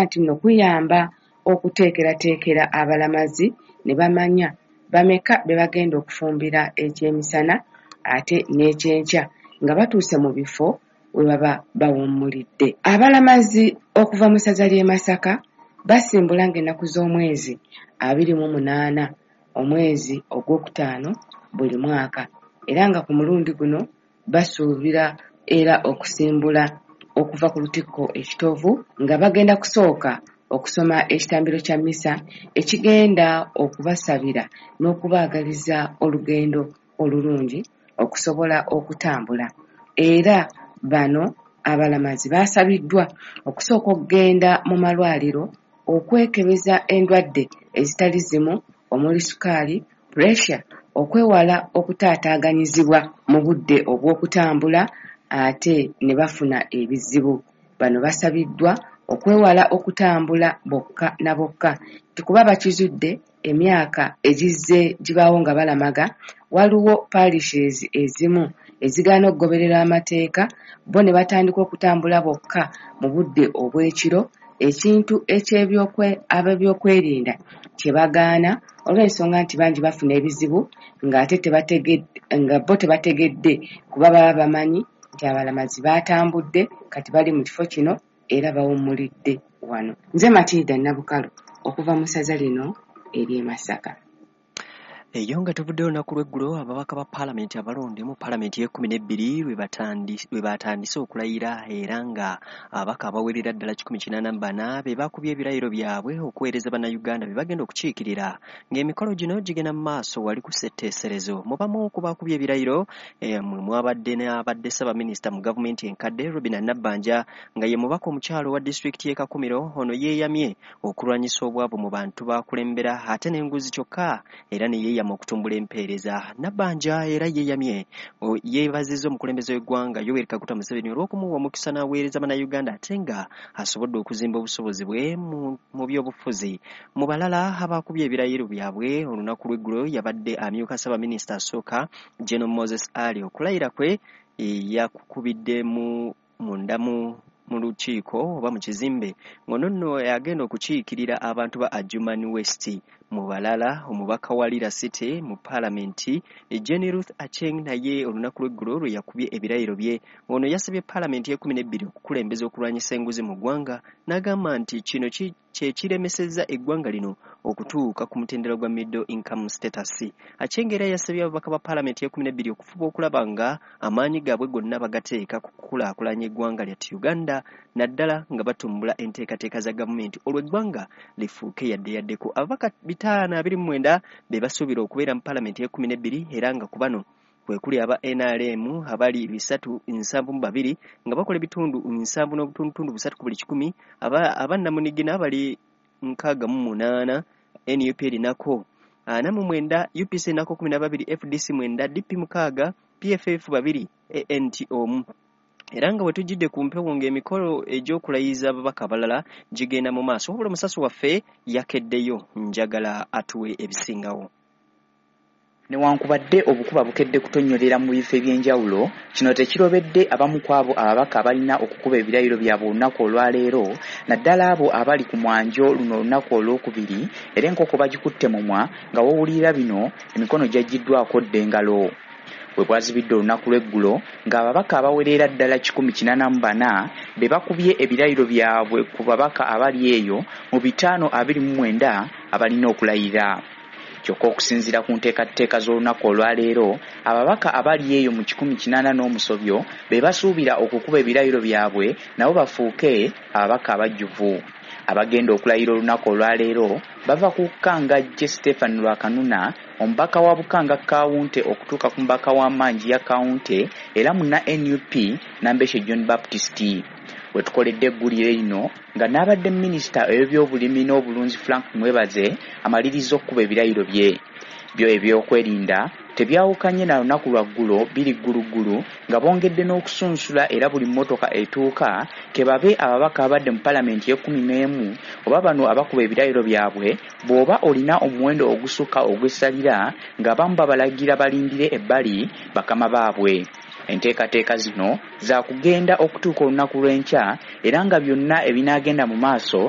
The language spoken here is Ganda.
Nti nno kuyamba okuteekerateekera abalamazi ne bamanya bameka be bagenda okufumbira ekyemisana ate n'ekyenkya nga batuuse mu bifo we baba bawummulidde. Abalamazi okuva mu ssaza ly'e Masaka basimbula ng'ennaku z'omwezi 28 omwezi ogwokutaano buli mwaka era nga ku mulundi guno basuubira era okusimbula okuva ku lutikko e Kitovu nga bagenda kusooka okusoma ekitambiro kya mmisa ekigenda okubasabira n'okubaagaliza olugendo olulungi okusobola okutambula era bano abalamazi baasabiddwa okusooka okugenda mu malwaliro okwekebeza endwadde ezitali zimu omuli sukaali, puresha okwewala okutaataaganyizibwa mu budde obw'okutambula ate ne bafuna ebizibu. Bano basabiddwa okwewala okutambula bokka na bokka nti kuba bakizudde emyaka egizze gibaawo nga balamaga waliwo parishes ezimu ezigaana okugoberera amateeka bo ne batandika okutambula bokka mu budde obw'ekiro ekintu ab'ebyokwerinda kye bagaana olw'ensonga nti bangi bafuna ebizibu ng'ate nga bo tebategedde kuba baba bamanyi nti abalamazi baatambudde kati bali mu kifo kino era bawummulidde wano. Nze Matilda Nabukalu okuva mu ssaza lino ery'e Masaka. Eyo nga tuvuddeyo olunaku lw'eggulo, ababaka ba paalamenti abalonde mu paalamenti y'e12 lwe batandise okulayira era nga ababaka abawerera ddala 184 be bakubye ebirayiro byabwe okuweereza Bannayuganda be bagenda okukiikirira ng'emikolo gino gigenda mu maaso wali ku ssetteeserezo. Mu bamu ku bakubye ebirayiro mwe mwabadde n'abadde Ssaabaminisita mu gavumenti enkadde Robinah Nabbanja nga ye mubaka omukyala owa disitulikiti y'e Kakumiro. Ono yeeyamye okulwanyisa obwavu mu bantu b'akulembera ate n'enguzi kyokka era ne yeeyama okutumbula empeereza. Nabbanja era yeeyamye yeebazizza omukulembeze w'eggwanga Yoweri Kaguta Museveni olw'okumuwa omukisa n'aweereza Bannayuganda ate nga asobodde okuzimba obusobozi bwe mu byobufuzi. Mu balala abakubye ebirayiro byabwe olunaku lw'eggulo yabadde amyuka Ssaabaminisita asooka General Moses Ali. Okulayira kwe yakukubidde munda mu lukiiko oba mu kizimbe ng'ono nno agenda okukiikirira abantu ba Adjumani West. Mu balala omubaka wa Lira City mu paalamenti Jenny Ruth Acheng naye olunaku lw'eggulo lwe yakubye ebirayiro bye. Ono yasabye paalamenti y'e12 okukulembeza okulwanyisa enguzi mu ggwanga n'agamba nti kino kye kiremesezza eggwanga lino okutuuka ku mutendera gwa middle income status. Acheng era yasabye ababaka ba paalamenti y'e12 okufuba okulaba nga amaanyi gaabwe gonna bagateeka ku kukulaakulanya eggwanga lyattu Uganda naddala nga batumbula enteekateeka za gavumenti olwo eggwanga lifuuke yadde yaddeko. Ababaka 529 be basuubira okubeera mu paalamenti y'e12 era nga ku bano kwe kuli aba NRM abali 372 nga bakola ebitundu 70.3 ku buli kikumi, abannamunigina abali 68, NUP erinako 49, UPC erinako 12, FDC 9, DP 6, PFF 2, ANT 1. Era nga bwe tujjidde ku mpewo ng'emikolo egy'okulayiza ababaka abalala gigenda mu maaso, wabula omusasi waffe yakeddeyo, njagala atuwe ebisingawo. Newankubadde obukuba bukedde kutonnyolera mu bifo eby'enjawulo, kino tekirobedde abamu ku abo ababaka abalina okukuba ebirayiro byabwe olunaku olwaleero, naddala abo abali ku mwanjo luno olunaku olwokubiri, era enkoko bagikutte mumwa nga w'owulirira bino emikono gyaggyiddwako dda engalo. Bwe bwazibidde olunaku lw'eggulo ng'ababaka abawerera ddala 184 be bakubye ebirayiro byabwe ku babaka abali eyo mu 529 abalina okulayira. Kyokka okusinziira ku nteekateeka z'olunaku olwaleero, ababaka abali eyo mu 180 be basuubira okukuba ebirayiro byabwe nabo bafuuke ababaka abajjuvu. Abagenda okulayira olunaku olwaleero bava ku Kangajje Stephen Lwakanuna, omubaka wa Bukanga Kawunte okutuuka ku mubaka wa Manjiya Kawunte era munna NUP Nambeshe John Baptist. We tukoledde eggulire lino nga n'abadde minisita ow'ebyobulimi n'obulunzi Frank Mwebaze amaliriza okukuba ebirayiro bye. Byo ebyokwerinda tebyawukanye na lunaku lwa ggulo biri gguluggulu nga bongedde n'okusunsula era buli mmotoka etuuka ke babe ababaka abadde mu paalamenti y'e11 oba bano abakuba ebirayiro byabwe bw'oba olina omuwendo ogusukka ogw'essalira ng'abamu babalagira balindire ebbali bakama baabwe. Enteekateeka zino zaakugenda okutuuka olunaku lw'enkya era nga byonna ebinaagenda mu maaso.